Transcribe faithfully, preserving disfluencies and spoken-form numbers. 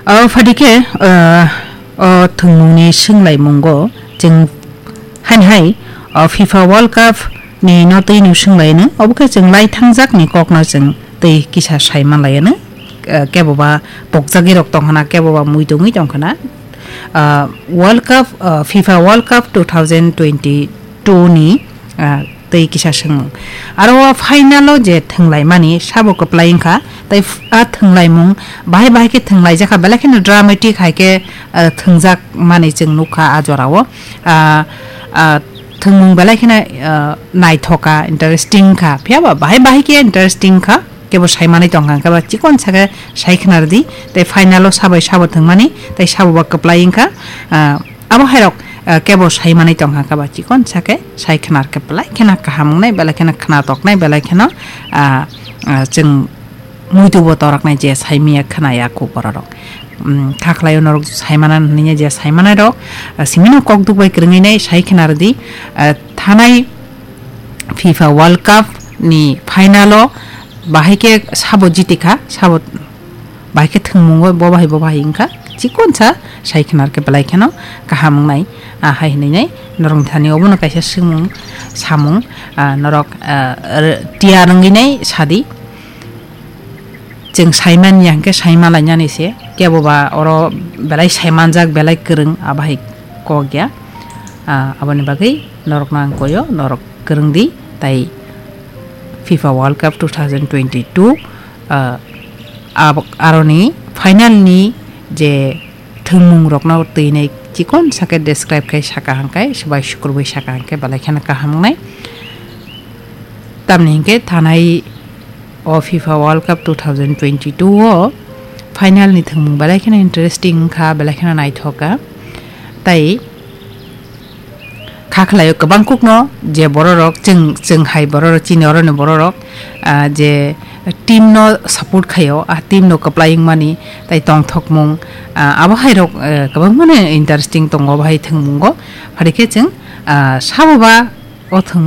O phaidi khe, ah, o thwngmungni swnglaimungo chwng haini hai, o FIFA World Cup ni no twi no swnglaino, obo khe chwng lai thangjakni kokno chwng twi kisa sai manlaino, ah, keboba pokjagwi rok tongkhana, keboba mui tongwi tongkhana. Ah, World Cup, ah, FIFA World Cup two thousand twenty-two ni, ah, tei kisa swngmung. Aro o final o je thwnglaimani sabo kwplai wngkha, tei f-, a thwnglaimung bahai bahai khe thwnglaijak kha, belai kheno dramatic hai khe, ah, thwngjak mani chwng nukha a jorao. Ah, ah, thwngmung belai kheno, ah, naithok kha, interesting kha, phiya ba bahai bahai khe interesting kha. Kebo sai manwi tongkha, hwnkhe ba chikon sa khe sai khna rwdi, tei final o sabai sabo thwngmani, tei sabo ba kwplai wngkha, ah, abo hairok, ah, kebo sai manwi tongkha, hwnkhe ba chikon sa khe sai khna rwkhe belai kheno kaham wngnai, belai kheno khna toknai, belai kheno, ah, ah, chwng muitu bo toroknai je sai manya khna ya khu bororok. Um, kha khlai norok sai mana hwnwi je sai manai rok, ah, simino kok duk bai kwrwngwi nai sai khna rwdi, ah, thanai FIFA World Cup ni final o bahai khe sabo jiti kha, sabo bahai khe thwngmungo bo bahai bo bahai wngkha. Chikon sa sai khna rwkhe belai kheno kaham wngnai, ah, hai hwnwi nai norok thani obono kaisa swngmung samung, ah, norok, ah, r-, tiyar wngwi nai sadi. Chwng sai man ya hwnkhe sai ma lainani se, kebo ba oro belai sai manjak, belai kwrwng, abo hai kok ya. Ah, aboni bagwi norokno ang koyo, norok kwrwng di, tai FIFA World Cup two thousand twenty-two, ah, ab-, aroni final ni je thwngmung rokno twi nai chikon sa khe describe khai saka hwnkhe, swbai sukurbai saka hwnkhe belai kheno kaham wngnai. Tamni hinkhe thanai o FIFA World Cup two thousand twenty-two o final ni thwngmung belai kheno interesting wngkha, belai kheno naithok kha. Tai kha khlaio kwbang kukno je bororok chwng, chwng hai bororok chini oroni bororok, ah, je team no support khaio, ah, team no kwplai wngmani tai tongthokmung, ah, abo hai rok, eh, kwbangmano interesting tongo abo hai thwngmungo. Phari khe chwng, ah, sabo ba o thwng